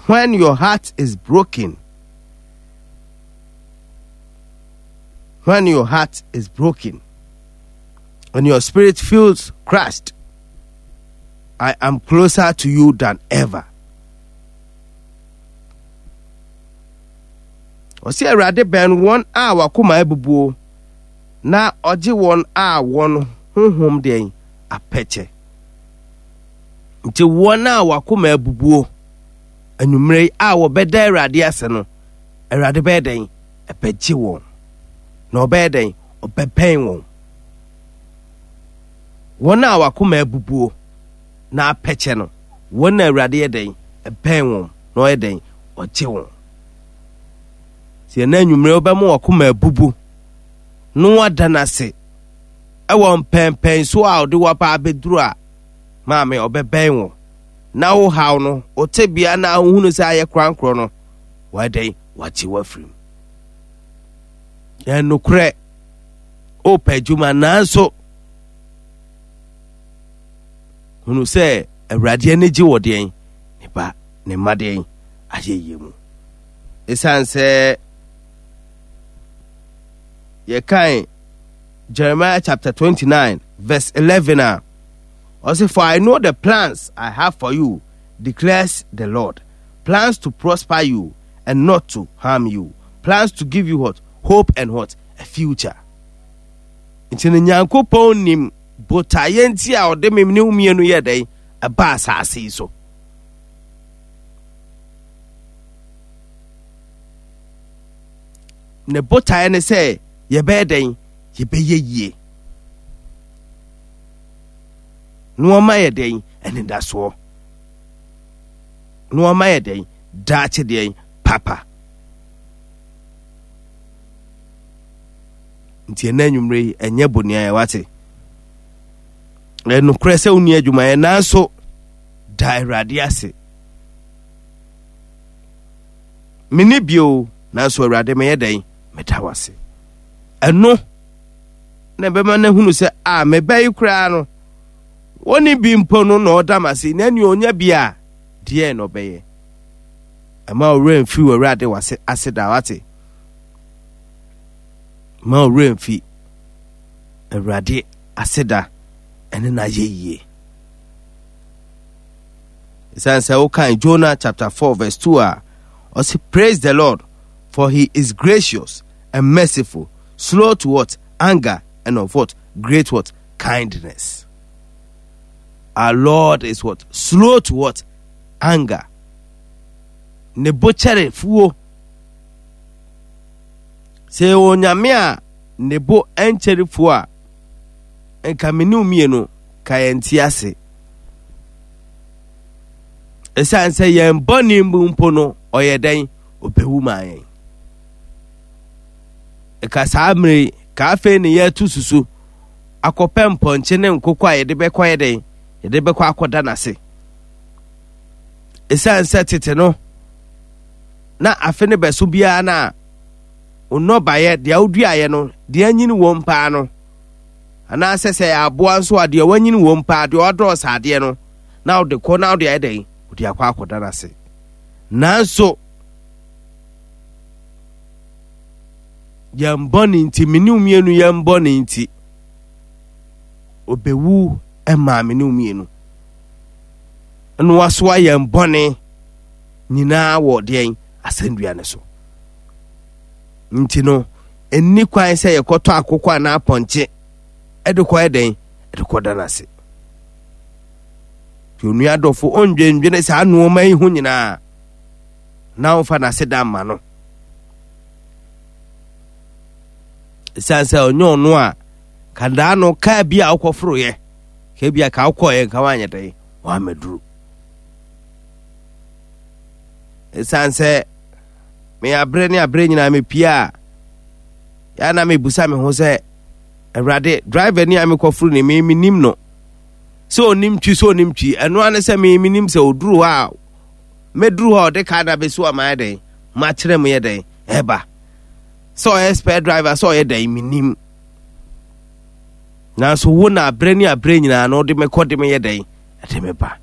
When your heart is broken, when your heart is broken and your spirit feels crushed, I am closer to you than ever. Ɔsi Awurade bɛn wɔn a wakoma abubuo na ɔgye wɔn a wɔn honhom deɛn apɛkyɛ. Nti wɔn a wakoma abubuo anwummerɛ yi a wɔbɛda Awurade ase no, Awurade bɛyɛ dɛn? Ɛbɛgye wɔn. Na ɔbɛyɛ dɛn? Ɔbɛbɛn wɔn. Wɔn a wakoma abubuo na apɛkyɛ no, wɔn na Awurade yɛ dɛn? Ɛbɛn wɔn na ɔyɛ dɛn? Ɔgye wɔn. Sɛ ɛna anwummerɛ wobɛma wakoma abubu na wada no ase ɛwɔ mpɛnpɛn so a ɔde waba abɛduru a, maame ɔbɛbɛn wo na wo haw no, wo tebea na wohunu sɛ ayɛ korankorɔ no, wayɛ dɛn? Wagye wo afiri mu. Yɛn nokorɛ, wopɛ adwuma nanso hunu sɛ Awurade ani gye wɔ deɛn? Ne ba, ne mma deɛn? Ayɛyie mu. Ɛsiane sɛ yɛkan Jeremiah chapter 29 verse 11 a, ɔse, For I know the plans I have for you, declares the Lord. Plans to prosper you and not to harm you. Plans to give you what? Hope and what? A future. Nti no Nyankopɔn nim botaeɛ nti a ɔde me ne wo mmienu yɛ dɛn ɛba asase yi so. Ne botaeɛ ne sɛ yɛbɛyɛ dɛn yɛbɛyɛ yie. Na wɔma yɛ dɛn anidasoɔ. Na wɔma yɛ dɛn daakye deɛn papa. Nti ɛnɛ anwummerɛ yi ɛnyɛ boniayɛ wate. Ɛnokorɛ sɛ wonni adwumayɛ nanso da Awurade ase. Menni bio nanso Awurade meyɛ dɛn meda wo ase. Ɛno na ɛbɛma no ahunu sɛ a meba yi koraa no wɔne bi mpo no na ɔda m ase na nea ɔnya bi a deɛ na ɔbɛyɛ. Ɛma ɔwerɛ mfiri wɔ Awurade wase ase da wate. Ma ɔwerɛ mfi Awurade ase da ɛne n'ayɛyie. Ɛsiane sɛ wokan Jonah chapter 4 verse 2 a, ɔse praise the Lord for he is gracious and merciful, slow to what? Anger and of what? Great what? Kindness. Our Lord is what? Slow to what? Anger. Ne bo kyɛre fuo. Sɛ yɛwɔ nyame a ne bo nkyɛre fuo a, nka me ne mmienu ka yɛn ti ase. Ɛsiane sɛ yɛn bɔne mu mpo no, ɔyɛ dɛn? Ɔbɛwu maa yɛn. Ɛka saa mmerɛ yi, ka afei ne yɛatu susu akɔpɛ mpɔnkye ne nkokɔ a yɛde bɛkɔ yɛ dɛn? Yɛde bɛkɔ akɔda n'ase. Ɛsiane sɛ tete no, na afe no bɛso biara no a, nnɔbaeɛ deɛ woduaeɛ no, deɛ anyini wom paa no, anaasɛ sɛ ɛyɛ aboa nso a deɛ wanyini wom paa, deɛ ɔdɔɔso adeɛ no, na wode kɔ na wode ayɛ dɛn? Wode akɔ akɔda n'ase. Nanso, yɛn bɔne nti, me ne mmienu yɛn bɔne nti, obewu maa me ne mmienu. Na wasoa yɛn bɔne nyinaa wɔ deɛn asɛnnua no so. Nti no, ɛnni kwan sɛ yɛkɔtɔ akokɔ anaa apɔnkye ɛde kɔ ɛdɛn ɛde kɔda no ase. Nti onua dɔfo ɔndwendwene saa nnoɔma yi ho nyinaa na ɔmfa n'aseda mma no. Ɛsiane sɛ ɔnyɛ ɔno a kadaa no kaa bi a wokɔforoeɛ ka bi a ka wokɔeɛ nka woanyɛ dɛn woammɛduru. Ɛsiane sɛ me aberɛ ne aberɛ nyinaa mepie a yɛ na mebusa me ho sɛ awurade driver ni a mekɔforo ne me menim no sɛ ɔnim twi sɛ ɔnim twi ɛno ara ne sɛ me menim sɛ ɔduru hɔ a mɛduru hɔ a ɔde kaa no abɛsi hɔ ama ayɛ dɛn makyerɛ mu yɛ dɛn ɛba sɛ ɔyɛ spare driver sɛ ɔyɛ dɛn menim nanso wo na aberɛ ne aberɛ nyinaa no wode mekɔ de meyɛ dɛn ɛde me ba.